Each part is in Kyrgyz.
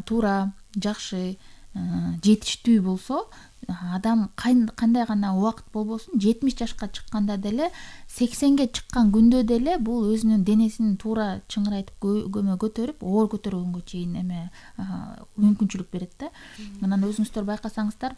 туура, жакшы, жетиштүү болсо, адам кандай гана убакыт болбосун 70 жашка чыкканда деле, 80ге чыккан күндө деле бул өзүнүн денесин туура чыңырайтып көтөрүп, оор көтөргөнгө чейин мүмкүнчүлүк берет да. Анан өзүңүздөр байкасаңыздар,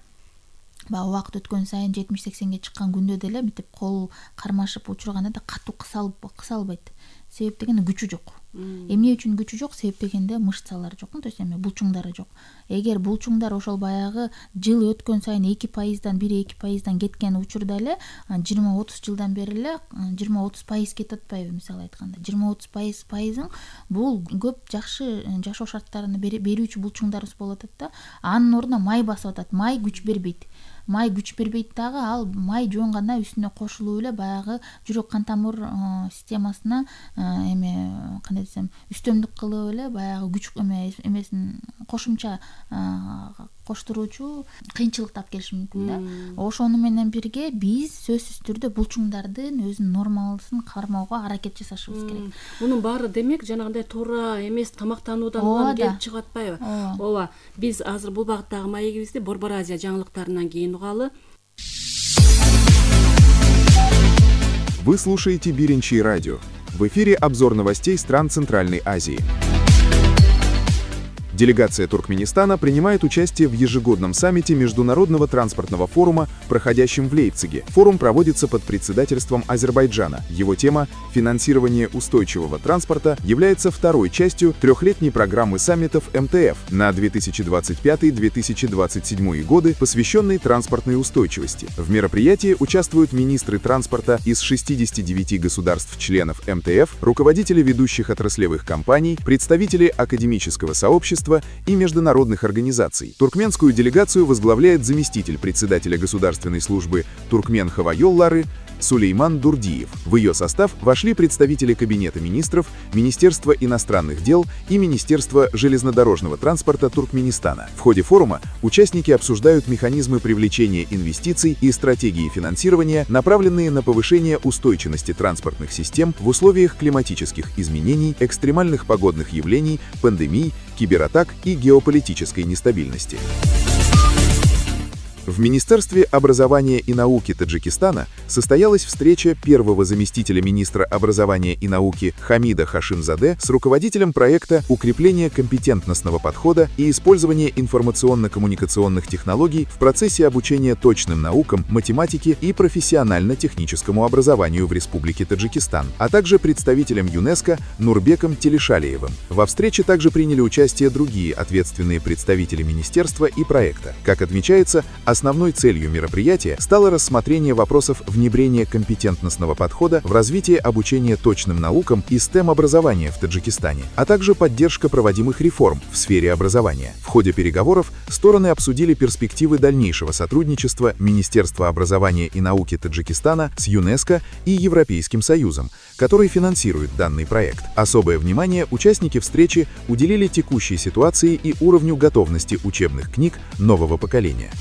баягы убакыт өткөн сайын 70-80ге чыккан күндө деле мынтип кол кармашып учурганда да катуу кысалбайт. Себеп дегенде күчү жок. Эмне үчүн күчү жок? Себеп дегенде мышцалар жок, то есть булчуңдары жок. Эгер булчуңдар ошол баягы жыл өткөн сайын 2%дан 1-2%дан кеткен учурда эле 20-30 жылдан бери эле 20-30% кетип атпайбы, мисалы айтканда. 20-30%ың бул көп жакшы жашоо шарттарын берүүчү булчуңдарыбыз болуп атат да. Анын ордуна май басып атат. Май күч бербейт. Май күч бербейт дагы, ал май жуанганда үстүнө кошулуп эле баягы жүрөк кан тамыр системасына кандай десем, үстөмдүк кылып эле баягы күч эмесин кошумча коштуруучу кыйынчылык таап келиши мүмкүн да. Ошону менен бирге биз сөзсүз түрдө булчуңдардын өзүнүн нормалысын кармоого аракет жасашыбыз керек. Мунун баары демек жанагындай туура эмес тамактануудан улам келип чыгып атпайбы? Ооба. Биз азыр бул багыттагы маегибизди Борбор Азия жаңылыктарынан кийин угалы. Вы слушаете Биринчи радио. В эфире обзор новостей стран Центральной Азии. Делегация Туркменистана принимает участие в ежегодном саммите Международного транспортного форума, проходящем в Лейпциге. Форум проводится под председательством Азербайджана. Его тема «Финансирование устойчивого транспорта» является второй частью трехлетней программы саммитов МТФ на 2025-2027 годы, посвященной транспортной устойчивости. В мероприятии участвуют министры транспорта из 69 государств-членов МТФ, руководители ведущих отраслевых компаний, представители академического сообщества и международных организаций. Туркменскую делегацию возглавляет заместитель председателя государственной службы Туркмен Хава Йоллары Сулейман Дурдиев. В ее состав вошли представители Кабинета министров, Министерства иностранных дел и Министерства железнодорожного транспорта Туркменистана. В ходе форума участники обсуждают механизмы привлечения инвестиций и стратегии финансирования, направленные на повышение устойчивости транспортных систем в условиях климатических изменений, экстремальных погодных явлений, пандемий, кибератак и геополитической нестабильности. В Министерстве образования и науки Таджикистана состоялась встреча первого заместителя министра образования и науки Хамида Хашимзаде с руководителем проекта «Укрепление компетентностного подхода и использование информационно-коммуникационных технологий в процессе обучения точным наукам, математике и профессионально-техническому образованию в Республике Таджикистан», а также представителем ЮНЕСКО Нурбеком Телешалиевым. Во встрече также приняли участие другие ответственные представители министерства и проекта. Как отмечается, основной целью мероприятия стало рассмотрение вопросов внедрения компетентностного подхода в развитие обучения точным наукам и STEM-образования в Таджикистане, а также поддержка проводимых реформ в сфере образования. В ходе переговоров стороны обсудили перспективы дальнейшего сотрудничества Министерства образования и науки Таджикистана с ЮНЕСКО и Европейским Союзом, который финансирует данный проект. Особое внимание участники встречи уделили текущей ситуации и уровню готовности учебных книг нового поколения.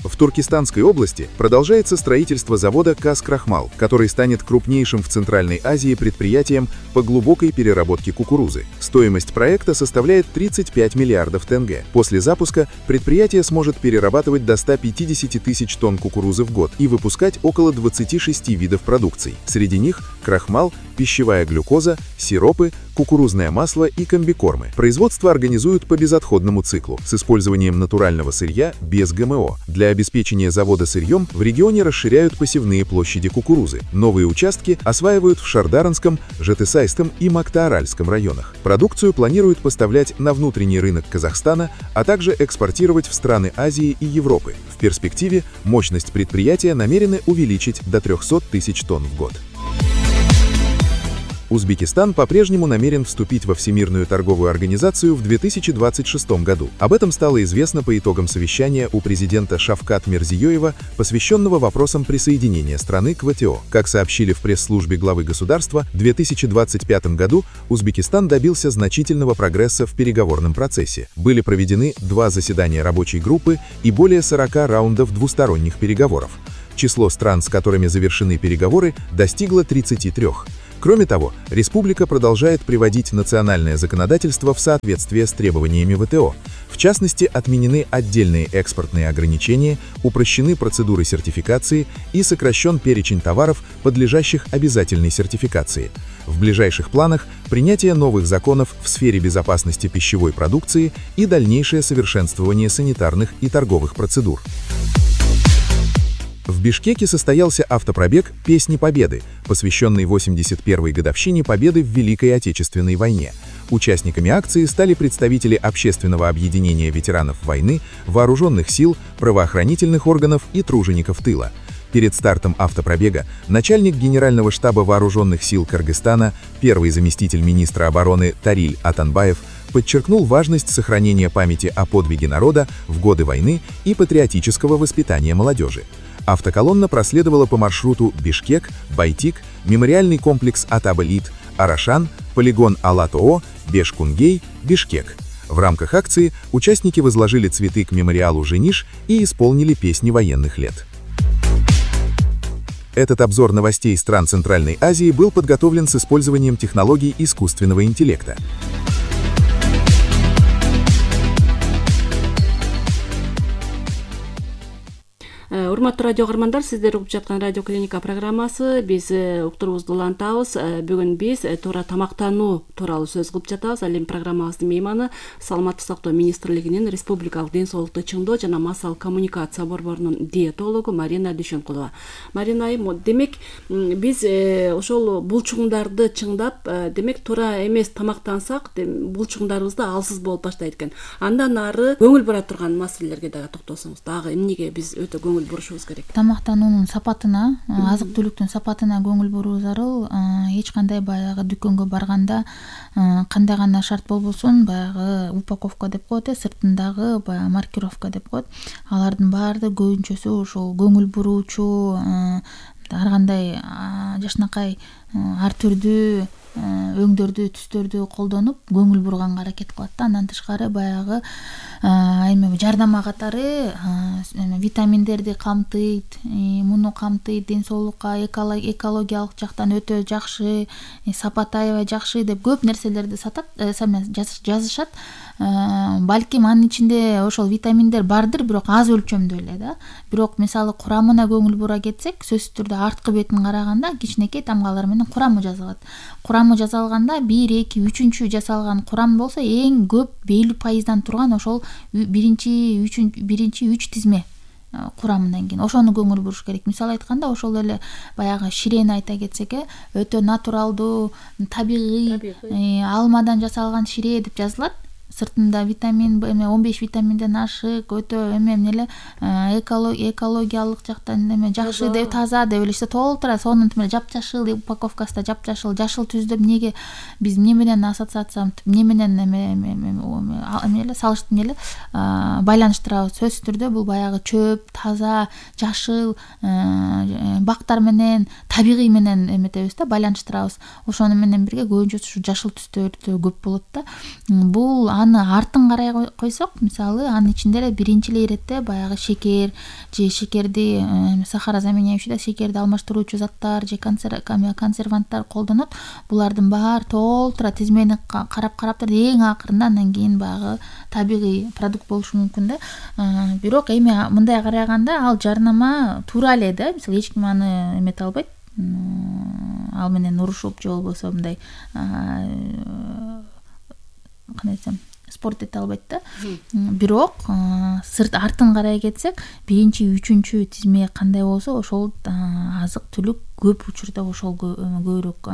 В Туркестанской области продолжается строительство завода «Каз-Крахмал», который станет крупнейшим в Центральной Азии предприятием по глубокой переработке кукурузы. Стоимость проекта составляет 35 миллиардов тенге. После запуска предприятие сможет перерабатывать до 150 тысяч тонн кукурузы в год и выпускать около 26 видов продукций. Среди них крахмал, пищевая глюкоза, сиропы, кукурузное масло и комбикормы. Производство организуют по безотходному циклу с использованием натурального сырья без ГМО. Для обеспечения завода сырьем в регионе расширяют посевные площади кукурузы. Новые участки осваивают в Шардаранском, Жетысайском и Мактааральском районах. Продукцию планируют поставлять на внутренний рынок Казахстана, а также экспортировать в страны Азии и Европы. В перспективе мощность предприятия намерены увеличить до 300 тысяч тонн в год. Узбекистан по-прежнему намерен вступить во Всемирную торговую организацию в 2026 году. Об этом стало известно по итогам совещания у президента Шавкат Мирзиёева, посвященного вопросам присоединения страны к ВТО. Как сообщили в пресс-службе главы государства, в 2025 году Узбекистан добился значительного прогресса в переговорном процессе. Были проведены 2 заседания рабочей группы и более 40 раундов двусторонних переговоров. Число стран, с которыми завершены переговоры, достигло 33. Кроме того, республика продолжает приводить национальное законодательство в соответствие с требованиями ВТО. В частности, отменены отдельные экспортные ограничения, упрощены процедуры сертификации и сокращен перечень товаров, подлежащих обязательной сертификации. В ближайших планах принятие новых законов в сфере безопасности пищевой продукции и дальнейшее совершенствование санитарных и торговых процедур. В Бишкеке состоялся автопробег «Песни Победы», посвященный 81-й годовщине Победы в Великой Отечественной войне. Участниками акции стали представители общественного объединения ветеранов войны, вооруженных сил, правоохранительных органов и тружеников тыла. Перед стартом автопробега начальник Генерального штаба вооруженных сил Кыргызстана, первый заместитель министра обороны Тариль Атанбаев, подчеркнул важность сохранения памяти о подвиге народа в годы войны и патриотического воспитания молодежи. Автоколонна проследовала по маршруту Бишкек, Байтик, мемориальный комплекс Атабалит, Арашан, полигон Алатоо, Бешкунгей, Бишкек. В рамках акции участники возложили цветы к мемориалу Жениш и исполнили песни военных лет. Этот обзор новостей стран Центральной Азии был подготовлен с использованием технологий искусственного интеллекта. Урматтуу радио каармандар, сиздер угуп жаткан радио клиника программасы. Биз уктуруубузду улантабыз. Бүгүн биз туура тамактануу тууралуу сөз кылып жатабыз. Ал эми программабыздын мейманы Саламаттык сактоо министрлигинин республикалык ден соолукту чыңдоо жана массалык коммуникация борборунун диетологу Марина Дүйшөнкулова. Марина айым, демек биз ошол булчуңдарды чыңдап, демек туура эмес тамактансак, булчуңдарыбыз да алсыз болуп баштайт экен. Андан ары көңүл бура турган маселелерге дагы токтолсоңуз, дагы эмнеге биз өтө көңүл бурушубуз керек? Тамактануунун сапатына, азык түлүктүн сапатына көңүл буруу зарыл. Эч кандай баягы дүкөнгө барганда кандай гана шарт болбосун, баягы упаковка деп коет, сыртындагы баягы маркировка деп коет. Алардын баардыгы көбүнчөсү ошол көңүл буруучу, ар кандай жашынакай ар түрдүү өңдөрдү, түстөрдү колдонуп көңүл бурганга аракет кылат да. Андан тышкары баягы эме жардама катары витаминдерди камтыйт, муну камтыйт, ден соолукка экологиялык жактан өтө жакшы, сапаты аябай жакшы деп көп нерселерди сатат, жазышат. Балким анын ичинде ошол витаминдер бардыр, бирок аз өлчөмдө эле да. Бирок мисалы курамына көңүл бура кетсек, сөзсүз түрдө арткы бетин караганда кичинекей тамгалар менен курамы жазылат. Курамы жазалганда 1, 2, 3 жасалган курам болсо эң көп 50% турган ошол биринчи 3 тизме курамынан кийин ошону көңүл буруш керек. Мисалы айтканда, ошол эле баягы ширени айта кетсек, өтө натуралдуу, табигый, алмадан жасалган шире деп жазылат. Сыртында витамин, 15 витаминден ашык, өтө эле экологиялык жактан жакшы деп, таза деп эле толтура, сонун жапжашыл упаковкасында жапжашыл, жашыл түз деп неге биз эмне менен ассоциация, эмне менен байланыштырабыз? Сөзсүз түрдө бул баягы чөп, таза, жашыл, бактар менен, табигый менен эметебиз да, байланыштырабыз. Ошону менен бирге көбүнчөсү ушу жашыл түстөр көп болот да. Бул аны артын карай койсок, мисалы анын ичинде эле биринчи иретте баягы шекер же шекерди сахарозаменяющий, шекерди алмаштыруучу заттар же консерванттар колдонот. Булардын баары толтура тизмени карап эң акырында андан кийин баягы табигый продукт болушу мүмкүн да. Бирок эми мындай караганда ал жарнама туура эле да. Мисалы эч ким аны эмете албайт. Ал менен урушуп же болбосо мындай кандай десем, спорт эте албайт да. Бирок сырт артын карай кетсек, биринчи, үчүнчү тизме кандай болсо, ошол азык түлүк көп учурда ошол көбүрөөк,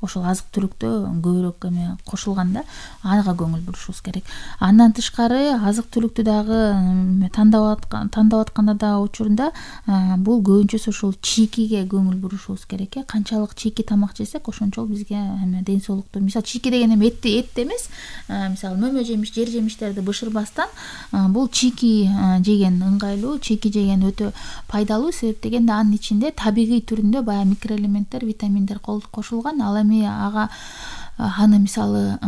ошол азык түлүктө көбүрөөк эме кошулган да. Ага көңүл бурушубуз керек. Андан тышкары азык түлүктү дагы тандап атканда да учурунда бул көбүнчөсү ушул чийкиге көңүл бурушубуз керек. Канчалык чийки тамак жесек, ошончолук бизге ден соолуктуу. Мисалы чийки деген эми эт эмес. Мисалы мөмө жемиш, жер жемиштерди бышырбастан бул чийки жеген ыңгайлуу, чийки жеген өтө пайдалуу. Себеп дегенде анын ичинде табигый түрүндө микроэлементтер, витаминдер кошулган. Ал эми аны мисалы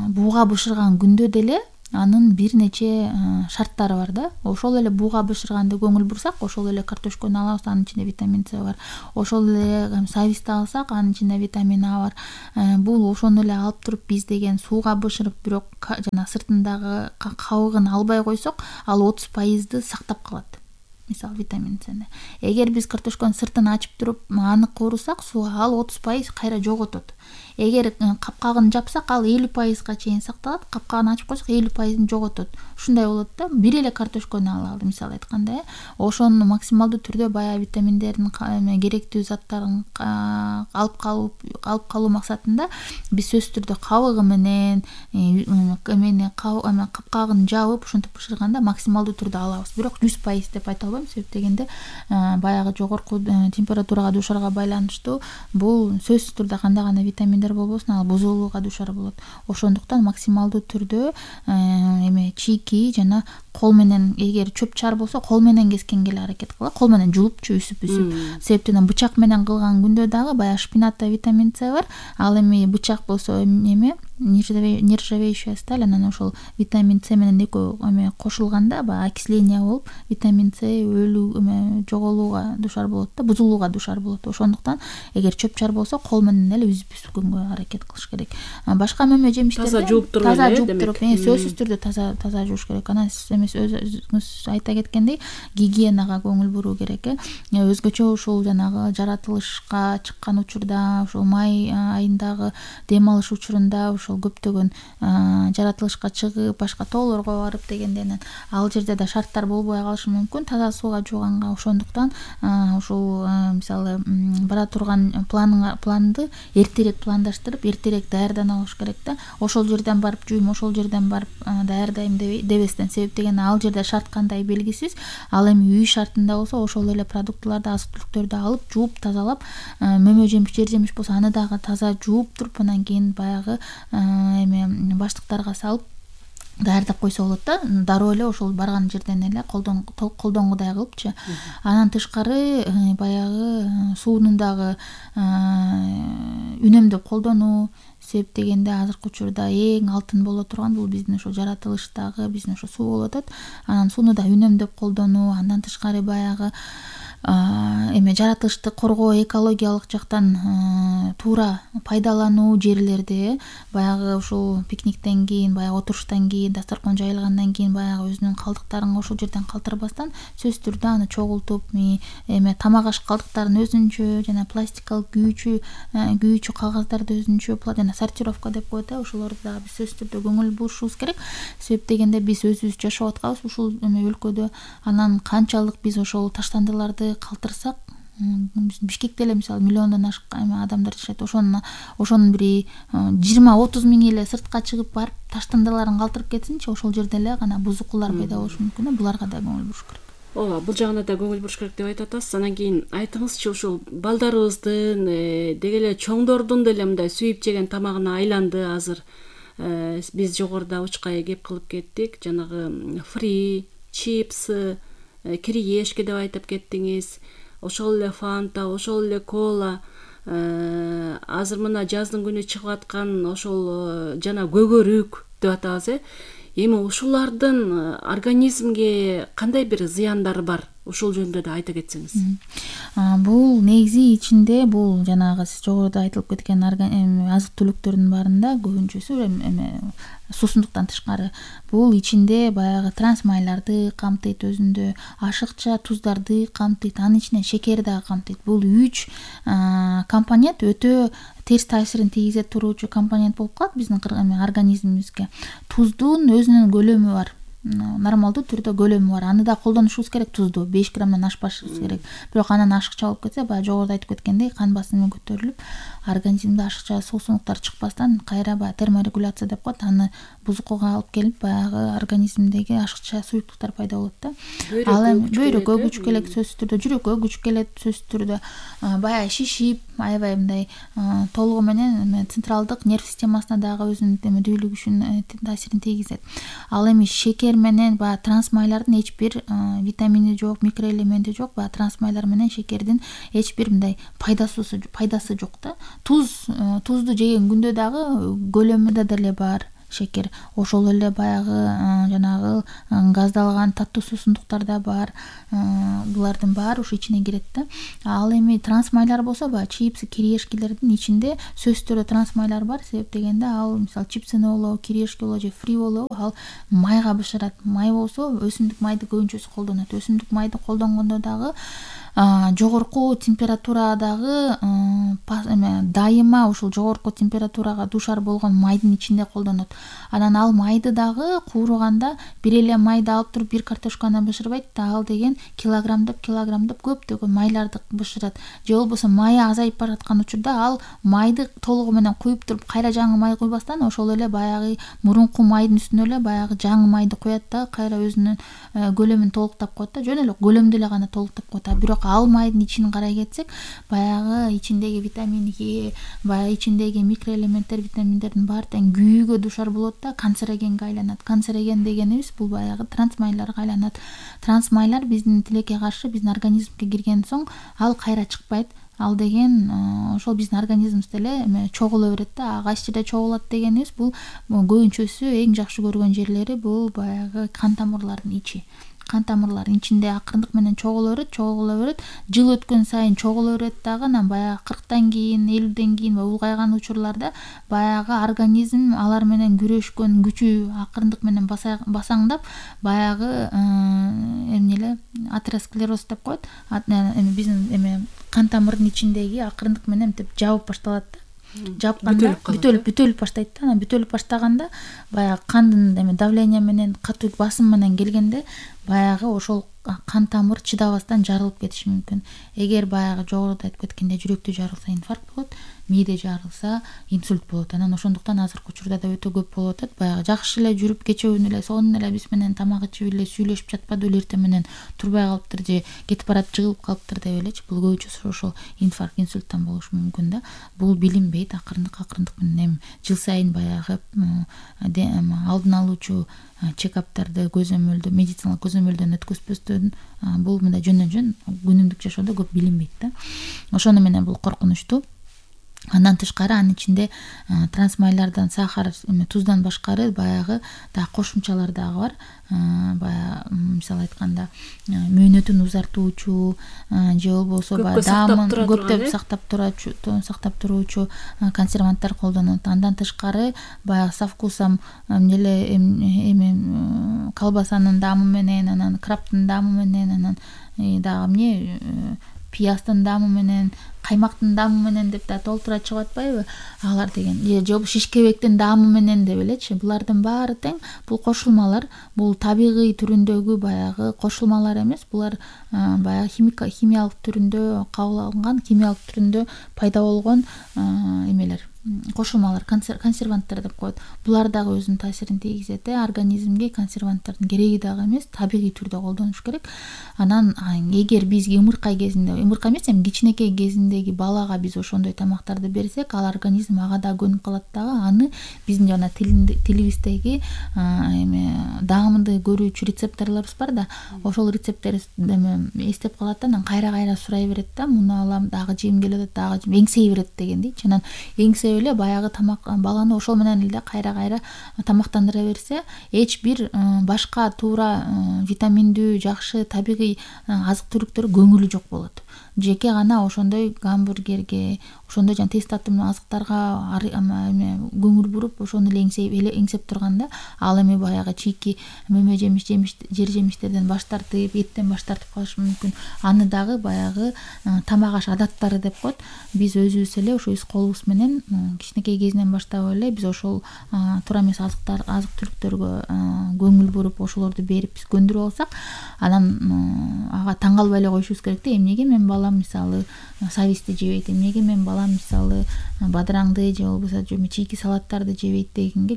бууга бышырган күндө деле анын бир нече шарттары бар да. Ошол эле буга бышырганды көңүл бурсак, ошол эле картошканы алабыз, анын ичинде витамин С бар. Ошол эле сабизди алсак, анын ичинде витамин А бар. Бул ошону эле алып туруп биз деген сууга бышырып, бирок жана сыртындагы кабыгын албай койсок, ал 30% сактап калат. Мисалы витамин Сни. Эгер биз картошканын сыртын ачып туруп аны куурусак, сууга ал 30% кайра жоготот. Эгер капкагын жапсак, ал 50%га чейин сакталат, капкагын ачып койсок 50%ын жоготот. Ушундай болот да. Бир эле картошканы алалы, мисалы айтканда, ошонун максималдуу түрдө баягы витаминдердин керектүү заттарын алып калуу максатында биз сөзсүз түрдө кабыгы менен капкагын жабып ушинтип бышырганда максималдуу түрдө алабыз. Бирок 100% деп айта албайм, себеп дегенде баягы жогорку температурага дуушарга байланыштуу бул сөзсүз түрдө кандай гана витаминдер болбосун, ал бузулууга дуушар болот. Ошондуктан максималдуу түрдө чийки жана кол менен, эгер чөп чаар болсо кол менен кескенге эле аракет кылалы, кол менен жулупчу үсүп. Себептен бычак менен кылган күндө дагы баягы шпинатта витамин С бар, ал эми бычак болсо нержавеющая сталь, анан ошол витамин С менен экөө кошулганда баягы окисление болуп, витамин С жоголууга дуушар болот да, бузулууга дуушар болот. Ошондуктан эгер чөп чаар болсо кол менен эле үскөнгө аракет кылыш керек. Башка мөмө жемиштерди таза жууп туруп, сөзсүз түрдө таза жууш керек. Анан өзүңүз айта кеткендей, гигиенага көңүл буруу керек. Өзгөчө ушул жанагы жаратылышка чыккан учурда, ушул май айындагы дем алыш учурунда ошол көптөгөн жаратылышка чыгып, башка тоолорго барып дегенден ал жерде да шарттар болбой калышы мүмкүн таза сууга жууганга. Ошондуктан ушул мисалы бара турган планды эртерээк пландаштырып, эртерээк даярдана алыш керек да. Ошол жерден барып жуйм, ошол жерден барып даярдайм дебестен, себеп деген ал жерде шарт кандай белгисиз. Ал эми үй шартында болсо ошол эле продуктыларды, азык-түлүктөрдү алып, жууп, тазалап, мөмө жемиш, жер жемиш болсо аны дагы таза жууп туруп, анан кийин баягы баштыктарга салып даярдап койсо болот да. Дароо эле ошол барган жерден эле колдонгудай кылыпчы. Анан тышкары баягы суунун дагы үнөмдөп колдонуу, себеп дегенде азыркы учурда эң алтын боло турган бул биздин ошо жаратылыштагы биздин ошо суу болот атат. Анан сууну да үнөмдөп колдонуу, андан тышкары баягы жаратылышты коргоо, экологиялык жактан туура пайдалануу жерлерди, баягы ушул пикниктен кийин, баягы отуруштан кийин, дасторкон жайылгандан кийин баягы өзүнүн калдыктарын ошол жерден калтырбастан сөзсүз түрдө аны чогултуп, тамак аш калдыктарын өзүнчө жана пластикалык күйүүчү кагаздарды өзүнчө жана сортировка деп коет, ошолорду дагы биз сөзсүз түрдө көңүл бурушубуз керек. Себеп дегенде биз өзүбүз жашап атканбыз ушул өлкөдө. Анан канчалык биз ошол таштандыларды калтырсак, Бишкекте эле мисалы миллиондон ашык адамдар жашайт. Ошонун бир 20-30 миң эле сыртка чыгып барып таштандыларын калтырып кетсинчи, ошол жерде эле гана бузукулар пайда болушу мүмкүн. Буларга да көңүл буруш керек. Ооба, бул жагына да көңүл буруш керек деп айтып атасыз. Анан кийин айтыңызчы, ушул балдарыбыздын деги эле чоңдордун деле мындай сүйүп жеген тамагына айланды азыр. Биз жогоруда учкай кеп кылып кеттик. Жанагы фри, чипсы, кириешки деп айтып кеттиңиз. Ошол эле фанта, ошол эле кола, азыр мына жаздын күнү чыгып аткан ошол жана көгөрүк деп атабыз. Эми ушулардын организмге кандай бир зыяндары бар? Ушул жөнүндө да айта кетсеңиз. Бул негизи ичинде бул жанагы сиз жогоруда айтылып кеткен азык-түлүктөрдүн баарында көбүнчөсү суусундуктан тышкары бул ичинде баягы трансмайларды камтыйт, өзүндө ашыкча туздарды камтыйт, анын ичинен шекер дагы камтыйт. Бул 3 компонент өтө терс таасирин тийгизе туруучу компонент болуп калат биздин организмибизге. Туздун өзүнүн көлөмү бар. Нормалдуу түрдө көлөмү бар. Аны да колдонушубуз керек, тузду 5 граммдан ашпашыбыз керек. Бирок анан ашыкча болуп кетсе, баягы жогоруда айтып кеткендей, кан басымы көтөрүлүп, организмде ашыкча суусундуктар чыкпастан кайра баягы терморегуляция деп коет, аны бузукуга алып келип, баягы организмдеги ашыкча суюктуктар пайда болот да. Ал эми бөйрөккө күч келет сөзсүз түрдө, жүрөккө күч келет сөзсүз түрдө, баягы шишип, аябай мындай толугу менен централдык нерв системасына дагы өзүнүн дүүлүк күчүн таасирин тийгизет. Ал эми шекер менен баягы трансмайлардын эч бир витамини жок, микроэлементи жок, баягы трансмайлар менен шекердин эч бир мындай пайдасы жок да. Тузду жеген күндө дагы көлөмү да деле бар. шекер. Ошол эле баягы жанагы газдалган таттуу суусундуктар да бар. Булардын баары ушу ичине кирет да. Ал эми трансмайлар болсо баягы чипсы, кириешкилердин ичинде сөзсүз түрдө трансмайлар бар. Себеп дегенде ал мисалы чипсыны болобу, кириешки болобу же фри болобу ал майга бышырат. Май болсо өсүмдүк майды көбүнчөсү колдонот. Өсүмдүк майды колдонгондо дагы жогорку температурадагы дайыма ушул жогорку температурага дуушар болгон майдын ичинде колдонот. Анан ал майды дагы кууруганда бир эле майды алып туруп бир картошканы бышырбайт да, ал деген килограмдап көптөгөн майларды бышырат. Же болбосо майы азайып бараткан учурда ал майды толугу менен куюп туруп кайра жаңы май куйбастан ошол эле баягы мурунку майдын үстүнө эле баягы жаңы майды куят да, кайра өзүнүн көлөмүн толуктап коет да, жөн эле көлөмдү эле гана толуктап коет. Бирок ал майдын ичин карай кетсек, баягы ичиндеги витамин Е, баягы ичиндеги микроэлементтер, витаминдердин баары тең күйүүгө дуушар болот да, канцерогенге айланат. Канцероген дегенибиз бул баягы трансмайларга айланат. Трансмайлар биздин тилекке каршы биздин организмге кирген соң ал кайра чыкпайт. Ал деген ошол биздин организмибизде эле чогула берет да. Кайсы жерде чогулат дегенибиз бул көбүнчөсү эң жакшы көргөн жерлери бул баягы кан тамырлардын ичи. Кан тамырлардын ичинде акырындык менен чогула берет. Жыл өткөн сайын чогула берет дагы. Анан баягы 40тан кийин, 50ден кийин улгайган учурларда баягы организм алар менен күрөшкөн күчү акырындык менен басаңдап, баягы эмне эле атеросклероз деп коет. Биздин кан тамырдын ичиндеги акырындык менен жабып башталат да. Жапканда бүтөлүп баштайт да. Анан бүтөлүп баштаганда баягы кандын давление менен, катуу басым менен келгенде баягы ошол кан тамыр чыдабастан жарылып кетиши мүмкүн. Эгер баягы жогоруда айтып кеткендей жүрөктү жарылса инфаркт болот, мээде жарылса инсульт болот. Анан ошондуктан азыркы учурда да өтө көп болуп атат. Баягы жакшы эле жүрүп кечөөнү эле сонун эле биз менен тамак ичип эле сүйлөшүп жатпады эле, эртең менен турбай калыптыр же кетип баратып жыгылып калыптыр деп элечи. Бул көбүнчөсү ошол инфаркт, инсульттан болушу мүмкүн да. Бул билинбейт, акырындык менен жыл сайын баягы алдын алуучу чекаптарды медициналык көзөмөлдөн өткөзбөстөн бул мындай жөндөн күнүмдүк жашоодо көп билинбейт да. Ошону менен бул коркунучтуу. Андан тышкары анын ичинде трансмайлардан, сахар, туздан башкары баягы да кошумчалар дагы бар. Баягы мисалы айтканда мөөнөтүн узартуучу же болбосо баягы даамын көптөп сактап туруучу консерванттар колдонот. Андан тышкары баягы со вкусом колбасанын даамы менен, анан краптын даамы менен, анан дагы пияздын даамы менен, каймактын даамы менен деп да толтура чыгып атпайбы? Алар деген же шишкебектин даамы менен деп элечи. Булардын баары тең бул кошулмалар, бул табигый түрүндөгү баягы кошулмалар эмес. Булар баягы химиялык түрүндө кабыл алынган, химиялык түрүндө пайда болгон эмелер, кошулмалар, консерванттар деп коет. Булар дагы өзүнүн таасирин тийгизет. Организмге консерванттардын кереги дагы эмес, табигый түрдө колдонуш керек. Анан эгер биз ымырка эмес, кичинекей кезиндеги балага биз ошондой тамактарды берсек, ал организм ага да көнүп калат дагы. Аны биздин жана тилибиздеги даамды көрүүчү рецепторлорубуз бар да, ошол рецептор эстеп калат да, анан кайра сурай берет да, муну алам, дагы жегим келип атат, дагы эңсей берет дегендейчи. Анан эңсеп эле баягы тамак баланы ошол менен эле кайра тамактандыра берсе, эч бир башка туура витаминдүү, жакшы табигый азык-түлүктөр көңүлү жок болот. Жеке гана ошондой гамбургерге, ошондой жана тез татымдуу азыктарга көңүл буруп, ошону эле эңсеп турганда, ал эми баягы чийки мөмө жер жемиштерден баш тартып, эттен баш тартып калышы мүмкүн. Аны дагы баягы тамак аш адаттары деп коет. Биз өзүбүз эле ошо өз колубуз менен кичинекей кезинен баштап эле биз ошол туура эмес азык-түлүктөргө көңүл буруп, ошолорду берип биз көндүрүп алсак, анан ага таң калбай эле коюшубуз керек да. Эмнеге мен балам мисалы сабизди жебейт, эмнеге мен балам мисалы бадыраңды же болбосо чийки салаттарды жебейт дегенге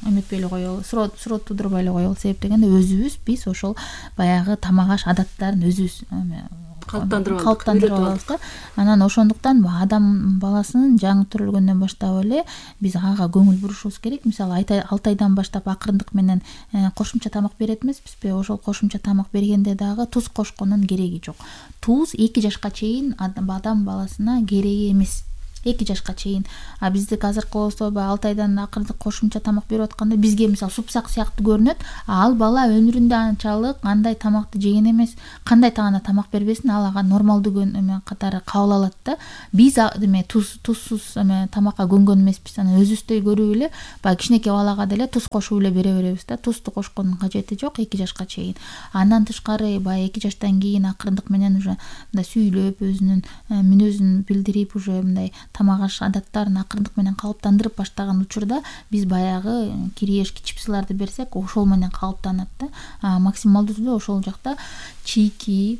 эметпей эле коелу, суроо тудурбай эле коелу. Себеп дегенде өзүбүз биз ошол баягы тамак аш адаттарын өзүбүз калыптандырып алабыз да. Анан ошондуктан адам баласынын жаңы төрөлгөндөн баштап эле биз ага көңүл бурушубуз керек. Мисалы 6 айдан баштап акырындык менен кошумча тамак берет эмеспизби? Ошол кошумча тамак бергенде дагы туз кошкондун кереги жок. Туз 2 жашка чейин адам баласына кереги эмес. 2 жашка чейин. А биздики азыркы болсо баягы 6 айдан акырындык кошумча тамак берип атканда бизге мисалы супсак сыяктуу көрүнөт. Ал бала өмүрүндө анчалык андай тамакты жеген эмес, кандай тагына тамак бербесин, ал ага нормалдуу катары кабыл алат да. Биз тузсуз тамакка көнгөн эмеспиз. Анан өзүбүздөй көрүп эле баягы кичинекей балага деле туз кошуп эле бере беребиз да. Тузду кошкондун кажети жок 2 жашка чейин. Андан тышкары баягы 2 жаштан кийин акырындык менен уже мындай сүйлөп, өзүнүн мүнөзүн билдирип, уже мындай тамак аш адаттарын акырындык менен калыптандырып баштаган учурда биз баягы кириешки чипсыларды берсек, ошол менен калыптанат да. Максималдуу түрдө ошол жакта чийки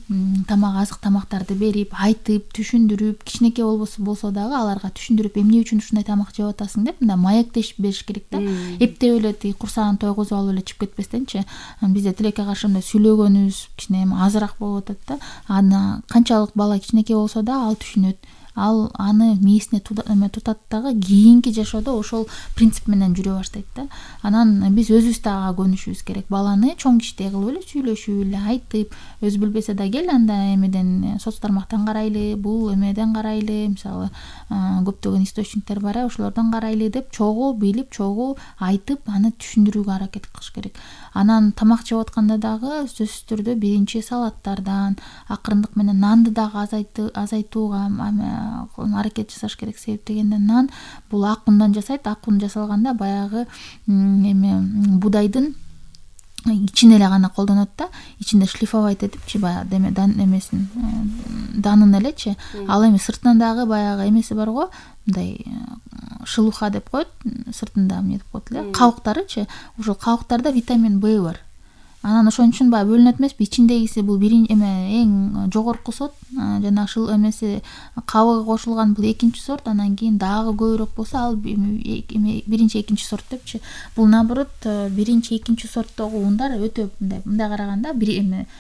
азык тамактарды берип, айтып, түшүндүрүп, кичинекей болсо дагы аларга түшүндүрүп, эмне үчүн ушундай тамак жеп атасың деп мындай маектешип бериш керек да. Эптеп эле тиги курсагын тойгузуп алып эле чыгып кетпестенчи. Бизде тилекке каршы мындай сүйлөгөнүбүз кичине азыраак болуп атат да. Аны канчалык бала кичинекей болсо да ал түшүнөт. Ал аны мээсине тутат дагы кийинки жашоодо ошол принцип менен жүрө баштайт да. Анан биз өзүбүз да ага көнүшүбүз керек. Баланы чоң кичтей кылып эле сүйлөшүп эле, айтып, өзү билбесе да кел анда эмеден соц тармактан карайлы, бул эмеден карайлы, мисалы көптөгөн источниктер бар, ошолордон карайлы деп чогуу билип, чогуу айтып, аны түшүндүрүүгө аракет кылыш керек. Анан тамак жеп атканда дагы сөзсүз түрдө биринчи салаттардан, акырындык менен нанды дагы азайтууга аракет жасаш керек. Себеп дегенде нан бул ак ундан жасайт. Ак ун жасалганда баягы будайдын ичин эле гана колдонот да. Ичинде шлифовать этипчи баягы эмесин данын элечи. Ал эми сыртынан дагы баягы эмеси бар го, мындай шелуха деп коет, сыртында эмне деп коет эле, кабыктарычы. Ошол кабыктарда витамин В бар. Анан ошон үчүн баягы бөлүнөт эмеспи, ичиндегиси бул эң жогорку сорт, жана эмеси кабыгы кошулган бул 2 сорт, анан кийин дагы көбүрөөк болсо ал 1-2 сорт депчи. Бул наоборот 1-2 сорттогу ундар өтө мындай караганда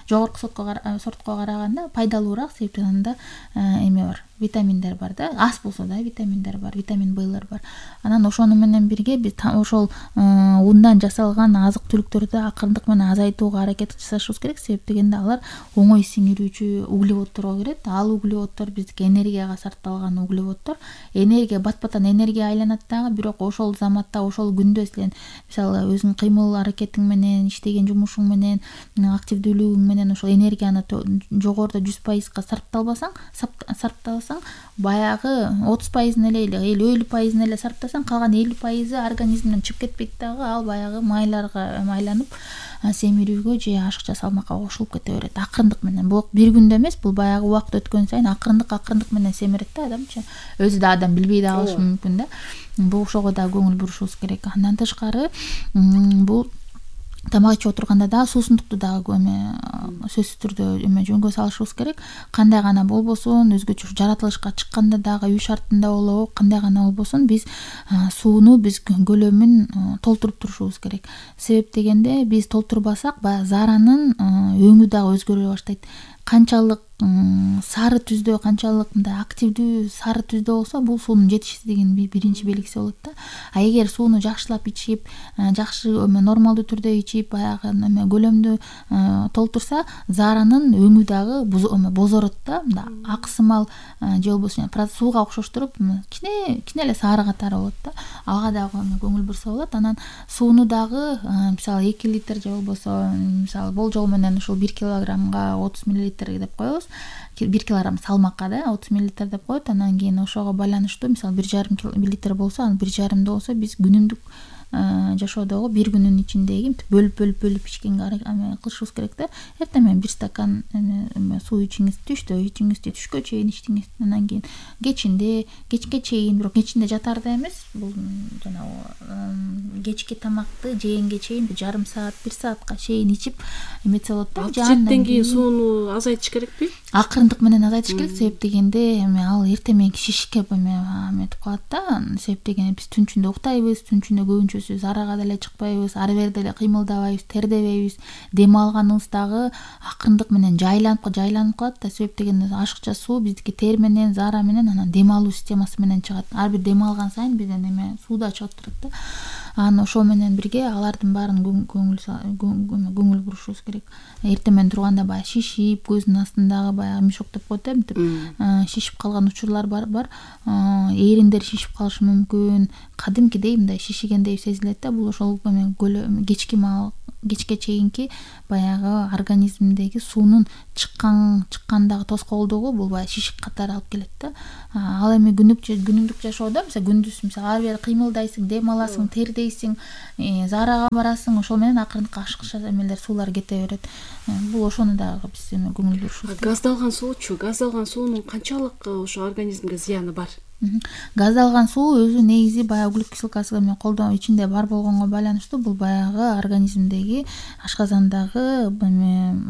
жогорку сортко караганда пайдалуураак, себеби анда бар, витаминдер бар да. Аз болсо да витаминдер бар, витамин Б'лер бар. Анан ошону менен бирге биз ошол ундан жасалган азык-түлүктөрдү акырындык менен азайтууга аракет жасашыбыз керек. Себеп дегенде алар оңой сиңирүүчү углеводторго кирет. Ал углеводдор биздики энергияга сарпталган углеводдор. Энергия бат-баттан энергия айланат дагы, бирок ошол заматта, ошол күндө сен мисалы өзүң кыймыл аракетиң менен, иштеген жумушуң менен, активдүүлүгүң менен ошол энергияны жогоруда 100%га сарпталсаң, баягы 30%-ын эле 50%-ын эле сарптасаң, калган 50%-ы организмден чыгып кетпейт дагы. Ал баягы майларга айланып семирүүгө же ашыкча салмакка кошулуп кете берет. Акырындык менен. Бул бир күндө эмес, бул баягы убакыт өткөн сайын акырындык менен семирет да адамчы. Өзү да адам билбей да калышы мүмкүн да. Бул ошого да көңүл бурушубуз керек. Андан тышкары бул тамак ичип отурганда дагы суусундукту дагы сөзсүз түрдө жөнгө салышыбыз керек. Кандай гана болбосун, өзгөчө жаратылышка чыкканда дагы үй шартында болобу, кандай гана болбосун, биз сууну көлөмүн толтуруп турушубуз керек. Себеп дегенде биз толтурбасак, баягы зааранын өңү дагы өзгөрө баштайт. Канчалык сары түздө, канчалык мындай активдүү сары түздө болсо, бул суунун жетишсиздигинин биринчи белгиси болот да. А эгер сууну жакшылап ичип, жакшы нормалдуу түрдө ичип, баягы көлөмдү толтурса, зааранын өңү дагы бозорот да. Аксымал же болбосо сууга окшоштуруп кичине эле сары катары болот да. Ага дагы көңүл бурса болот. Анан сууну дагы мисалы 2 литр же болбосо мисалы болжол менен ушул 1 килограммга 30 мл деп коебуз. 1 килограмм салмакка да 30 мл деп коет. Анан кийин ошого байланыштуу мисалы 1,5 литр болсо, анан 1,5 болсо биз күнүмдүк жашоодогу бир күнүн ичиндеги бөлүп ичкенге кылышыбыз керек да. Эртең менен 1 стакан суу ичиңиз, түшкө чейин ичтиңиз. Анан кийин кечке чейин, бирок кечинде жатарда эмес, бул жанагы кечки тамакты жегенге чейин 1,5 саат, 1 саатка чейин ичип эметсе болот да. Жеттен кийин сууну азайтыш керекпи? Акырындык менен азайтыш керек. Себеп дегенде ал эртең мененки шишикке эметип калат да. Себеп дегенде биз түн ичинде уктайбыз, түн ичинде көбүнчөсү арага деле чыкпайбыз, ары бери деле кыймылдабайбыз, тердебейбиз. Дем алганыбыз дагы акырындык менен жайланып калат да. Себеп дегенде ашыкча суу биздики тер менен, заара менен, анан дем алуу системасы менен чыгат. Ар бир дем алган сайын бизден суу да чыгып турат да. Анан ошол менен бирге алардын баарын көңүл бурушубуз керек. Эртең менен турганда баягы шишип, көздүн астындагы баягы мешок деп коет мынтип шишип калган учурлар бар. Эриндер шишип калышы мүмкүн, кадимкидей мындай шишигендей сезилет да. Бул ошол кечке чейинки баягы организмдеги суунун чыккандагы тоскоолдугу бул баягы шишик катары алып келет да. Ал эми күнүмдүк жашоодо күндүз ары бери кыймылдайсың, дем аласың, тердейсиң, заарага барасың, ошол менен акырындыкка ашыкча эмелер суулар кете берет. Бул ошону дагы биз көңүл бурушубуз. Газдалган суунун канчалык ошо организмге зыяны бар? Газдалган суу өзү негизи баягы углек кислотасы колдоо ичинде бар болгонго байланыштуу бул баягы организмдеги ашказандагы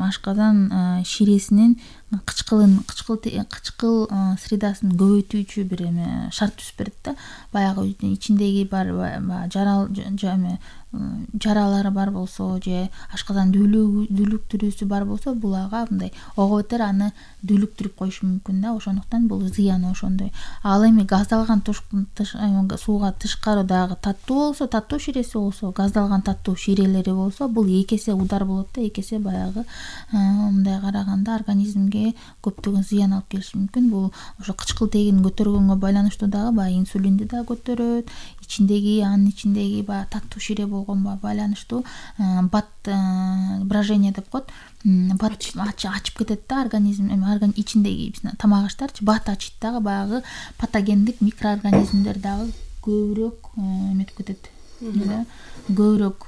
ашказан ширесинин кычкыл средасын көбөйтүүчү бир шарт түзүп берет да. Баягы ичиндеги бар жаралары бар болсо же ашказан дүүлүктүрүүсү бар болсо бул ага мындай ого бетер аны дүүлүктүрүп коюшу мүмкүн да. Ошондуктан бул зыяны ошондой. Ал эми газдалган сууга тышкары дагы таттуу ширеси болсо, газдалган таттуу ширелери болсо, бул эки эсе удар болот да. Эки эсе баягы мындай караганда организмге көптөгөн зыян алып келиши мүмкүн. Бул ошо кычкыл тегин көтөргөнгө байланыштуу дагы баягы инсулинди да көтөрөт. Анын ичиндеги баягы таттуу шире болгонго байланыштуу бат брожение деп коет. Бат ачып кетет да организм ичиндеги тамак аштарчы бат ачыйт дагы баягы патогендик микроорганизмдер дагы көбүрөөк эметип кетет. Көбүрөөк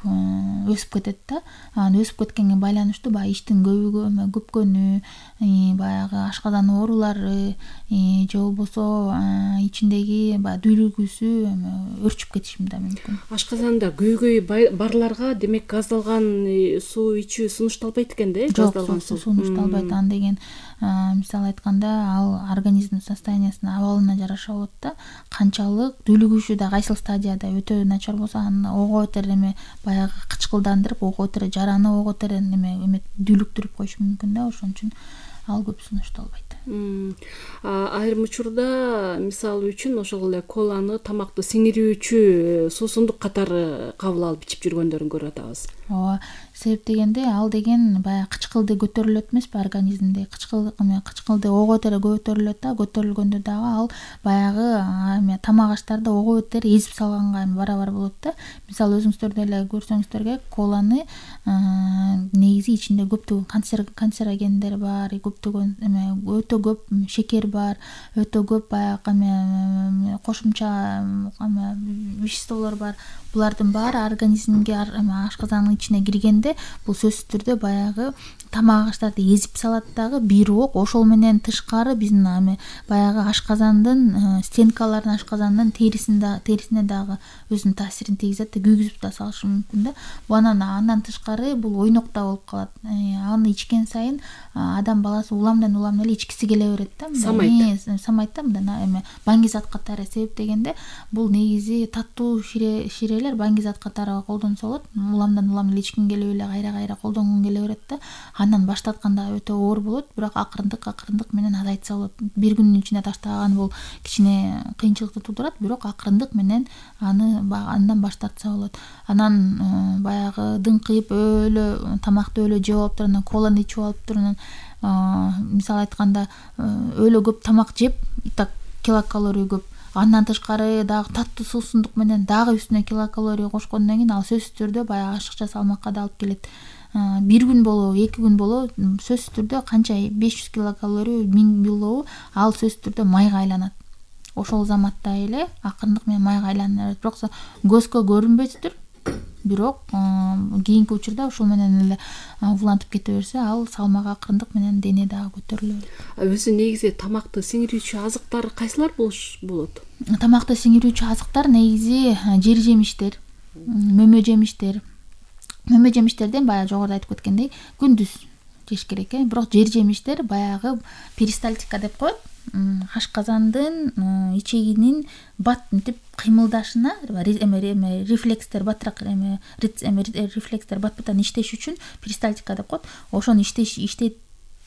өсүп кетет да. Анан өсүп кеткенге байланыштуу баягы иштин көпкөнү, баягы ашказан оорулары же болбосо ичиндеги баягы дүүлүгүүсү өрчүп кетиши да мүмкүн. Ашказанда көйгөй барларга демек газдалган суу ичүү сунушталбайт экен да? Газдалган суу сунушталбайт. Ан деген мисалы айтканда ал организмдин состояниясына, абалына жараша болот да. Канчалык дүүлүгүүсү да кайсыл стадияда өтө начар болсо аны ого бетер баягы кычкылдандырып, ого бетер жараны ого бетер дүүлүктүрүп коюшу мүмкүн да. Ошон үчүн ал көп сунушталбайт. Айрым учурда мисалы үчүн ошол эле коланы тамакты сиңирүүчү суусундук катары кабыл алып ичип жүргөндөрүн көрүп атабыз. Ооба, себеп дегенде ал деген баягы кычкылды көтөрүлөт эмеспи организмде. Кычкылды ого бетер көтөрүлөт да. Көтөрүлгөндө дагы ал баягы тамак аштарды ого бетер эзип салганга барабар болот да. Мисалы өзүңүздөр деле көрсөңүздөр керек, коланы негизи ичинде көптөгөн канцерогендер бар, көптөгөн өтө көп шекер бар, өтө көп баягы кошумча веществолор бар. Булардын баары организмге ашказандын ичине киргенде бул сөзсүз түрдө баягы тамак аштарды эзип салат дагы, бирок ошол менен тышкары биздин баягы ашказандын стенкаларын, ашказандын терисине дагы өзүнүн таасирин тийгизет, күйгүзүп да салышы мүмкүн да. Андан тышкары бул ойнок да болуп калат. Аны ичкен сайын адам баласы уламдан эле ичкиси келе берет да. Самайт да, мындай баңгизат катары. Себеп дегенде бул негизи таттуу ширелер баңгизат катары колдонсо болот. Уламдан эле ичкин келип эле кайра колдонгон келе берет да. Андан баштатканда өтө оор болот, бирок акырындык менен азайтса болот. Бир күндүн ичинде таштаган бул кичине кыйынчылыкты туудурат, бирок акырындык менен андан баштатса болот. Анан баягы дыңкыйып тамакты жеп алып туруп, коланы ичип алып туруп, мисалы айтканда өлө көп тамак жеп, так килокалория көп. Андан тышкары дагы таттуу суусундук менен дагы үстүнө килокалория кошкондон кийин ал сөзсүз түрдө баягы ашыкча салмакка да алып келет. Бир күн болобу, 2 күн болобу, сөзсүз түрдө канча 500 килокалория, 1000 болобу, ал сөзсүз түрдө майга айланат. Ошол заматта эле акырындык менен майга айланат. Бирок көзгө көрүнбөйдүр, бирок кийинки учурда ошол менен эле улантып кете берсе, ал салмак акырындык менен дене дагы көтөрүлөт. Өзү негизи тамакты сиңирүүчү азыктар кайсылар болот? Тамакты сиңирүүчү азыктар негизи жер жемиштер, мөмө жемиштер. Мөмө жемиштерден баягы жогоруда айтып кеткендей күндүз жеш керек, бирок жер жемиштер баягы перистальтика деп коет. Ашказандын ичегинин бат мынтип кыймылдашына рефлекстер баттыраак рефлекстер бат-баттан иштеш үчүн перистальтика деп коет. Ошону иштетүү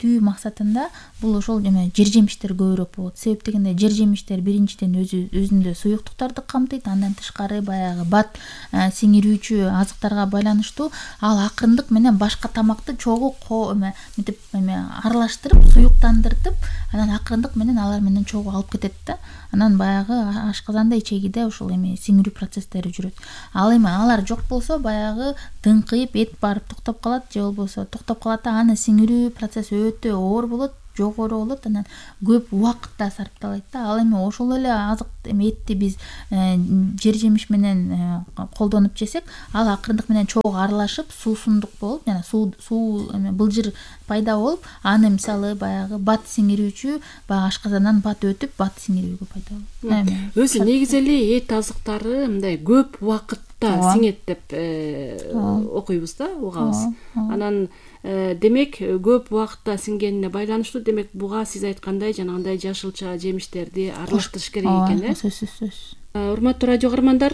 жеткирүү максатында бул ошол жер жемиштер көбүрөөк болот. Себеп дегенде жер жемиштер биринчиден өзүндө суюктуктарды камтыйт, андан тышкары баягы бат сиңирүүчү азыктарга байланыштуу ал акырындык менен башка тамакты чогуу мынтип аралаштырып, суюктандыртып, анан акырындык менен алар менен чогуу алып кетет да. Анан баягы ашказанда, ичегиде ошол сиңирүү процесстери жүрөт. Ал эми алар жок болсо баягы дыңкыйып, эт барып токтоп калат, же болбосо токтоп калат да, аны сиңирүү процесси өтө оор болот, жогору болот, анан көп убакыт да сарпталат да. Ал эми ошол эле азык этти биз жер жемиш менен колдонуп жесек, ал акырындык менен чогуу аралашып, суусундук болуп, жана суу былжыр пайда болуп, аны мисалы баягы бат сиңирүүчү баягы ашказандан бат өтүп, бат сиңирүүгө пайда болот. Өзү негизи эле эт азыктары мындай көп убакытта сиңет деп окуйбуз да, угабыз. Анан демек көп убакытта сиңгенине байланыштуу, демек буга сиз айткандай жанагындай жашылча жемиштерди аралаштырыш керек экен, сөзсүз. Урматтуу радио каармандар,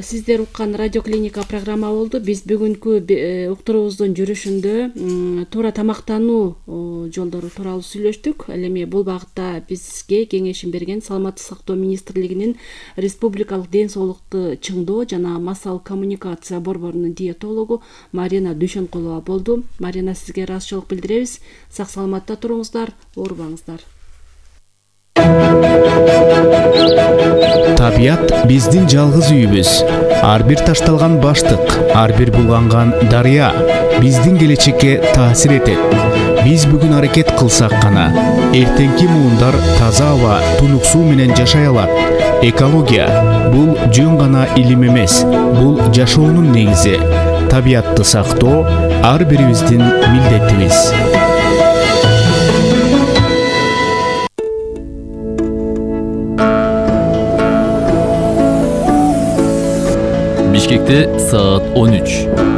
сиздер уккан радио клиника программа болду. Биз бүгүнкү уктуруубуздун жүрүшүндө туура тамактануу жолдору тууралуу сүйлөштүк. Ал эми бул багытта бизге кеңешин берген Саламаттык сактоо министрлигинин Республикалык ден соолукту чыңдоо жана массалык коммуникация борборунун диетологу Марина Дүйшөнкулова болду. Марина, сизге ыраазычылык билдиребиз. Сак саламатта туруңуздар, оорубаңыздар. Табият биздин жалгыз үйүбүз. Ар бир ташталган баштык, ар бир булганган дарыя биздин келечекке таасир этет. Биз бүгүн аракет кылсак гана эртеңки муундар таза аба, тунук суу менен жашай алат. Экология бул жөн гана илим эмес, бул жашоонун негизи. Табиятты сактоо ар бирибиздин милдетибиз. Бишкекте саат 13.